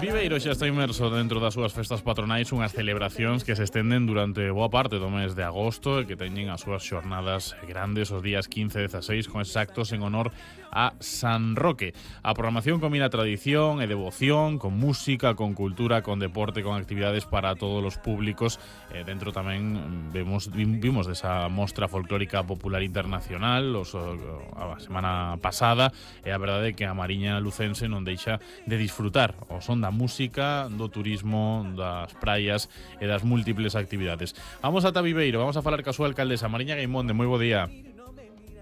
Viveiro xa está inmerso dentro das súas festas patronais, unhas celebracións que se estenden durante boa parte do mes de agosto e que teñen as súas xornadas grandes os días 15 e 16 con esos actos en honor a San Roque. A programación combina tradición e devoción, con música, con cultura, con deporte, con actividades para todos os públicos. Dentro tamén vimos desa mostra folclórica popular internacional a semana pasada, e a verdade é que a Mariña lucense non deixa de disfrutar o son da música, do turismo, das praias e das múltiples actividades. Vamos ata Viveiro, vamos a falar ca súa alcaldesa Mariña Gaimonde. Moi bo día.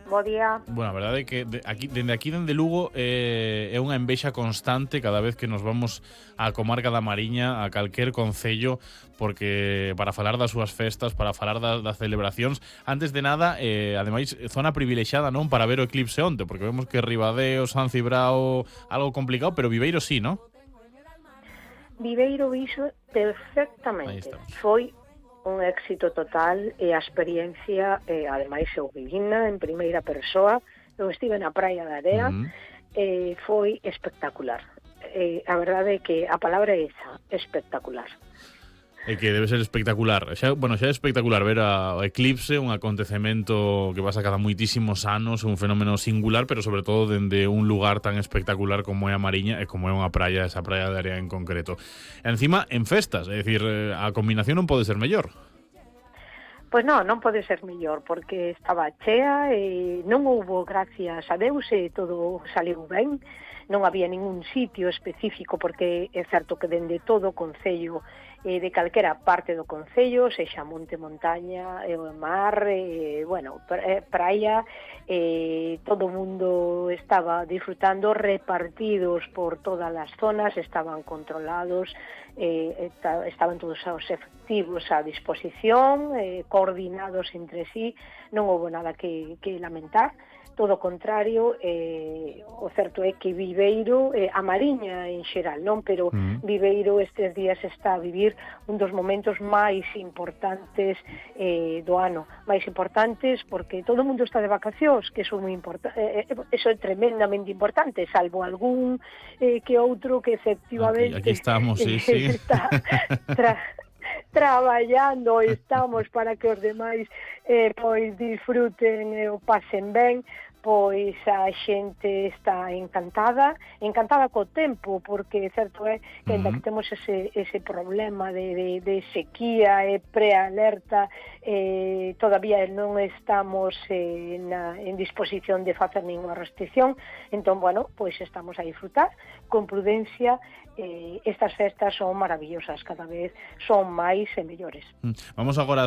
Bo día. Bueno, a verdade é que dende Lugo é unha envexa constante cada vez que nos vamos á comarca da Mariña, a calquer concello, porque para falar das súas festas, para falar das celebracións, antes de nada, ademais, zona privilexiada, non, para ver o eclipse onte, porque vemos que Ribadeo, San Cibrao, algo complicado, pero Viveiro sí, non? Viveiro iso perfectamente. Foi un éxito total e a experiencia, ademais eu vivina en primeira persoa, eu estive na Praia da Area, foi espectacular. A verdade é que a palabra é esa, espectacular. É que debe ser espectacular. Xa é espectacular ver o eclipse, un acontecemento que pasa cada moitísimos anos, un fenómeno singular, pero sobre todo dende un lugar tan espectacular como é a Mariña e como é unha praia, esa Praia de Area en concreto. E encima, en festas, é dicir, a combinación non pode ser mellor. Pois non pode ser mellor, porque estaba chea e non houbo, gracias a Deus, e todo saliu ben. Non había ningún sitio específico, porque é certo que dende todo o concello, de calquera parte do concello, sexa monte, montaña, mar, praia, todo o mundo estaba disfrutando, repartidos por todas as zonas, estaban controlados, estaban todos os efectivos a disposición, coordinados entre sí, non houbo nada que lamentar. Todo o contrario, o certo é que Viveiro, a Mariña en xeral, non, pero Viveiro estes días está a vivir un dos momentos máis importantes do ano, máis importantes porque todo o mundo está de vacacións, que eso é tremendamente importante, salvo algún que outro que efectivamente aquí estamos, sí. está traballando, estamos para que os demais pois disfruten e o pasen ben. Pois a xente está encantada co tempo, porque certo é que ainda que temos ese problema de sequía e prealerta, todavía non estamos en disposición de facer ninguna restricción, entón, pois estamos a disfrutar con prudencia. Estas festas son maravillosas, cada vez son máis e mellores. Vamos agora